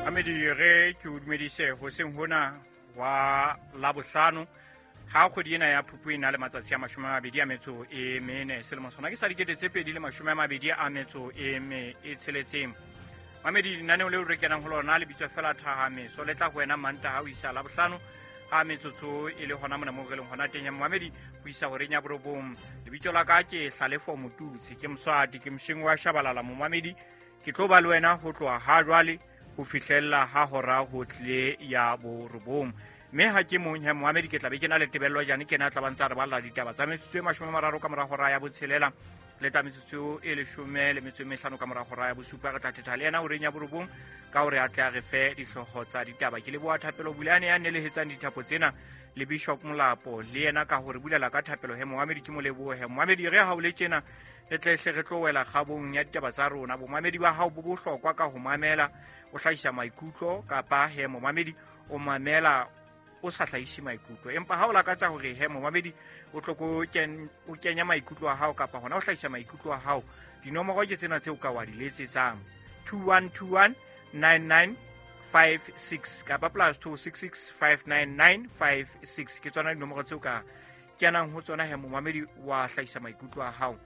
Amedi re ke o dumedise hoseng hona wa Labohlano ha kgwedi ena ya Phupu e na le matsatsi a 24, selemo sona ke sa 2026. Mamedi, lenaneo leo re kenang ho lona le bitswa fela Thahameso, le tla ho wena Mantaha ho isa Labohlano ha metsotso e le hona mona moo re leng hona teng ya momamedi ho isa horeng ya 9. Lebitso la ka ke Hlalefo Motutsi, ke Moswati, ke mosheng wa Shabalala. Momamedi, ke tlo ba le wena ho tloha ha jwale ho fihlella ha hora ho tlile ya 9. Mme ha ke mong he momamedi, ke tla be ke na le Tebello Jane, ke na tla ba ntse a re balla ditaba tsa metsotso e 30 ka mora hora ya 6 le tsa metsotso e 15 ka mora hora ya 7. Re tla thetha le yena horeng ya 9 ka hore a tle a re fe dihlooho tsa ditaba. Ke leboha Thapelo Bulane ya nelehetsang dithapo tsena le Bishop Molapo le yena ka hore bulela ka thapelo he momamedi, ke mo lebohe. Momamedi, re ha o le tjena re tle hle re tlo wela kgabong ya ditaba tsa rona. Bomamedi ba hao bo bohlokwa ka ho mamela o hlahisa maikutlo, kapa he momamedi o mamela o sa hlahise maikutlo. Empa ha o lakatsa hore he momamedi o tlo o kenya maikutlo a hao kapa hona o hlahisa maikutlo a hao, dinomoro ke tsena tseo ka wa di letsetsang: 2121 9956 kapa +266 59956. Ke tsona dinomoro tseo ka kenang ho tsona he momamedi wa hlahisa maikutlo a hao.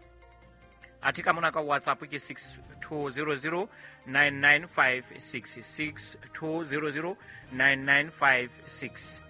Athe ka mona ka WhatsApp ke 6200 9956, 6200 9956.